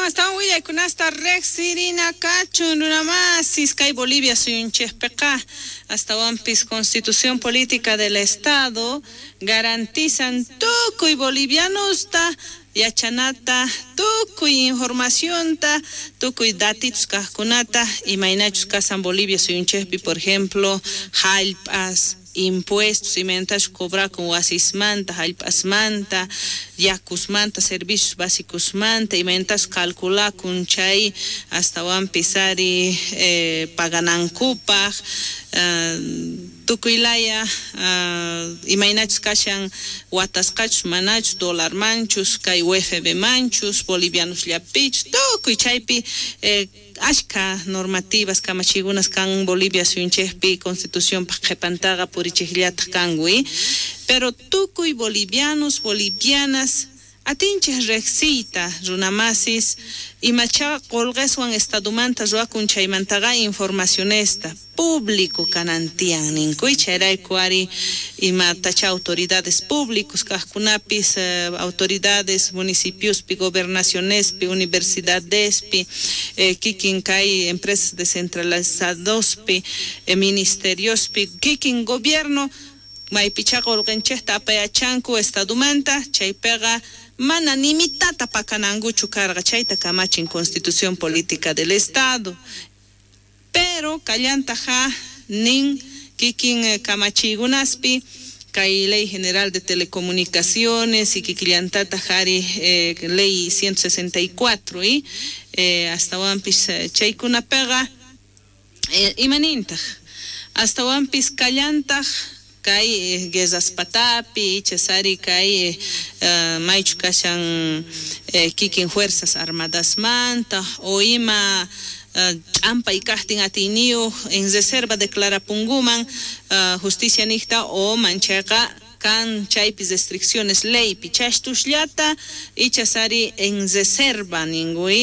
Astawan astawan willaykunasta riqsirina kachun runamasis kay Bolivia suyunchikpiqa astawanpis Constitución Política del Estado garantizan tukuy bolivianosta yachanata tukuy informacionta tukuy datitos kaqkunata imaynachus kasan Bolivia suyunchikpi, por ejemplo, jallp'as, impuestos imaynatachus cobrakun wasismanta, jallp'asmanta, yakusmanta, servicios básicosmanta, imaynatachus calculakun chay astawanpis ari paganankupaj, tukuy laya imaynachus kashan watasqachus manachus dólarmanchus kay UFB manchus bolivianosllapichus tukuy chaypi ashka normativas kamachiykunas kan Bolivia suyunchikpi constitucionpaj qhipantaqa purichikllataj kanku, pero tukuy bolivianos, bolivianas atinchik riqsiyta runamasis imacha qolqeswan estadomanta ruwakun chaymantaqa informacionesta público kanantiyan ninkuy chayrayku ari imatacha autoridades públicos kaqkunapis, autoridades municipiospi, gobernacionespi, universidadespi, kikin kay empresas descentralizadospi, ministeriospi, kikin gobierno maypicha qolqenchikta apayachanku estadomanta chaypiqa mana nimitata pakanankuchu karqa chayta kamachin Constitución Política del Estado. Pero kallantaja nin kikin kamachiykunaspi kay Ley General de Telecomunicaciones y kikillantata jari Ley 164 y astawanpis chaykunapiqa imanintaj astawanpis kallantaj kay guerras patapi ichasari kay maychu kashan kikin fuerzas armadasmanta o ima ch'ampay kajtin atiyniyuq en reserva declarapunguman justicia niqta o manchayqa kan chaypi restricciones leypi chashtusllata ichasari en reserva ninkuy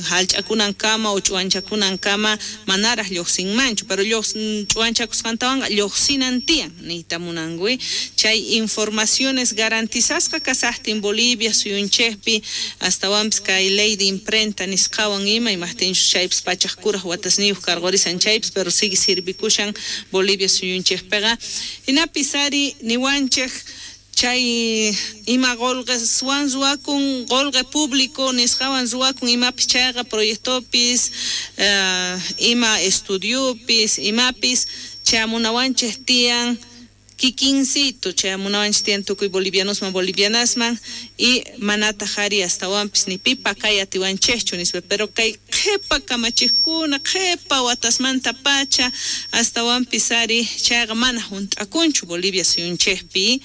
hallch'akunankama o ch'uwanchakunankama manaraj lluqsinmanchu pero ch'uwanchakusqantawanqa lluqsinan tiyan niyta munankuy chay informaciones garantizasqa kasaqtin Bolivia suyunchikpi astawanpis kay ley de imprenta nisqawan ima imaqtinchus chaypis pachaq kuraj watasniyuq karqurisan chaypis pero sigue sirvikushan Bolivia suyunchikpiqa hinapis ari niwanchik chay ima qolqeswan ruwakun qolqe público nisqawan ruwakun imapis chayqa proyectopis, ima estudiopis imapis chamunawanchik tiyan kikincito chayamunawanchik tiyan tukuy bolivianosman bolivianasman y manataq ari astawanpis ni pipa kay atiwanchikchu nispa pero kay qhipa kamachiqkuna qhipa watasmanta pacha astawanpis ari chayqa mana hunt'akunchu Bolivia suyunchikpi,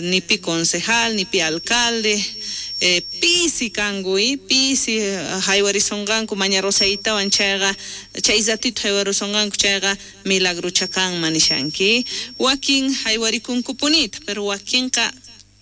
ni pi concejal ni pi alcalde, pisi kanku pisi haywarisonqanku Maña Rosaytawan chayqa chay ratito haywarisonqanku chayqa milagrocha kanman nishanki wakin haywarikunkupunitaj pero wakinqa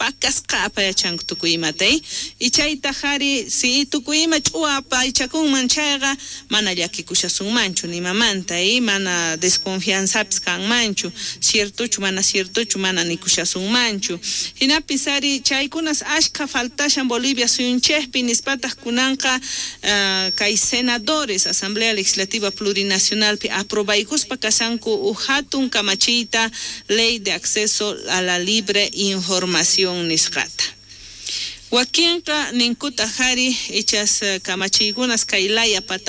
pakasqa apayachanku tukuy imata y chaytaj ari si tukuy ima ch'uwa apaychakunman chayqa mana llakikushasunmanchu nimamanta mana desconfianzapis kanmanchu ciertochu mana ciertochu mana nikushasunmanchu hinapis ari chaykunas ashka faltashan Bolivia suyunchikpi nispataq kunanqa kay senadores Asamblea Legislativa Plurinacionalpi aprobaykuspa kashanku uj hatun kamachiyta Ley de Acceso a la Libre Información nisqata. Wakinqa ninkutaj ari ichas kamachiykunas kay laya patamanta.